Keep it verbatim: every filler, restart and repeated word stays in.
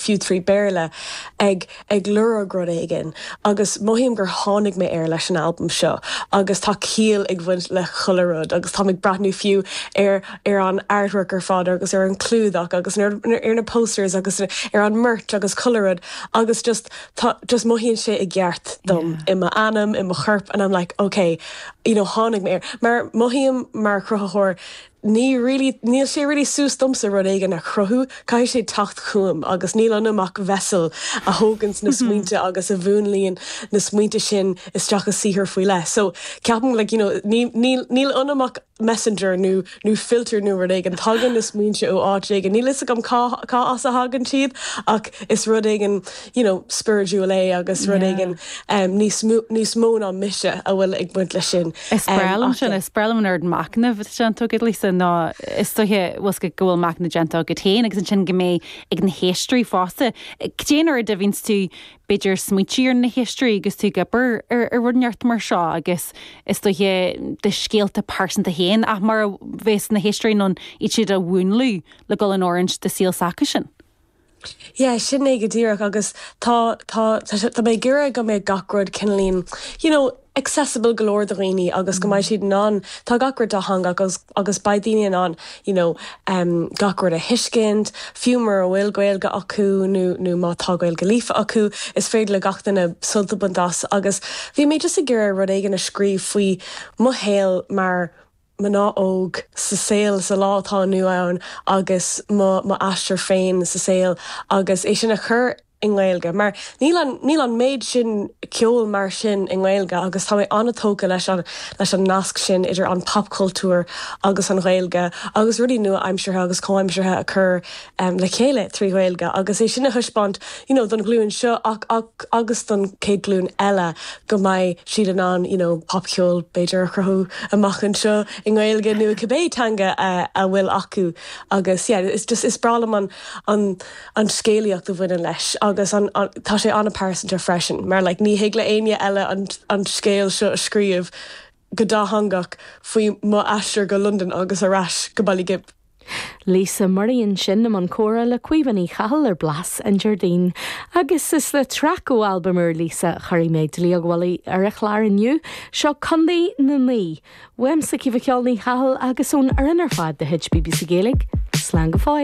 fiú trí Béarla ag ag lorg rud éigin agus mothaím gur tháinig mé air leis an albam seo agus tá ciall ag bhaint le chuile rud agus tá ag breathnú fiú ar ar an artwork ar fad agus ar an clúdach agus ar, ar na posters agus ar an merch agus chuile rud agus just tá just mothaíonn sé i gceart dom yeah. i m'anam i mo chorp and I'm like okay you know tháinig mé air mar mothaím mar chruthaitheoir ní really níl sé really suas domsa rud éigin a chruthú caithfidh sé teacht chugam agus níl ionam ach vessel a thógann na smaointe agus a mhúnlaíonn na smaointe sin isteach i saothar faoi leith. So ceapaim like, you know, níl ionam ach messenger nó nó filter nó rud éigin tagann na smaointe ó áit éigin níl fhios agam cá as a thagann siad ach is rud éigin you know, spiritual é agus rud éigin um, níos mó ná mise a bhfuil ag baint leis sin. Is breá liom sin is breá liom an machnamh sin tú Lisa ná is dóiche go bhfuil machnamh déanta agat féin agus ansin go mbeidh ag na héisteoirí fosta. Cén uair a bhíonns tú b'fhéidir smaointiú ar na héisteoirí agus tú ag obair ar ar rud inteacht mar seo agus is dóiche do scéalta pearsanta féin ach mar a bheas na héisteoirí in ann iad siad a mhúnlú le dul in oiriúint do shaol s'acusan. Yeah, sin é go díreach agus tá tá tá mé ag iarraidh go mbeidh gach rud cineáilín you know, accessible go leor do dhaoine agus go mbeidh siad in ann tá gach rud dátheangach agus agus beidh daoine in ann you know, um, gach rud a thuiscint, fiú mura bhfuil Gaeilge acu nó nó má tá Gaeilge líofa acu is féidir le gach duine sult a bhaint as agus bhí mé just ag iarraidh rud éigin a scríobh faoi mo shaol mar mná óg sa saol sa lá atá inniu ann agus mo aistear féin sa saol agus é sin a chur i nGaeilge mar níl an níl an méid sin ceol mar sin i nGaeilge agus tá mé an-tógtha leis an leis an nasc sin idir an popchultúr agus an Ghaeilge agus rudaí nua-aimseartha agus comhaimseartha a chur um, le chéile trí Ghaeilge agus é sin a thaispeáint you know, don ghlúin seo ach, ach, agus don chéad ghlúin eile go mbeidh siad in ann you know, popcheol b'fhéidir a chruthú amach anseo i nGaeilge nó cibé teanga uh, a bhfuil acu agus yeah, is just is breá liom an, an, an scéalaíocht a bhaineann leis agus an, an, tá sé an-phearsanta freisin, mar like, ní thig le éinne eile an, an scéal seo a scríobh go dátheangach faoi mo aistear go London agus ar ais go Baile Ghib. Lisa Murray ansin i mbun comhrá le Caoimhe Ní Chathail ar Blas an Déardaoin. Agus is le traic ó albam úr Lisa chuirfidh mé dlaíog mhullaigh ar an chlár inniu seo Contae na Naoi. Uaimse Caoimhe Ní Chathail agus ón fhoireann ar fad de chuid BBC Gaeilge, Slán go fóill.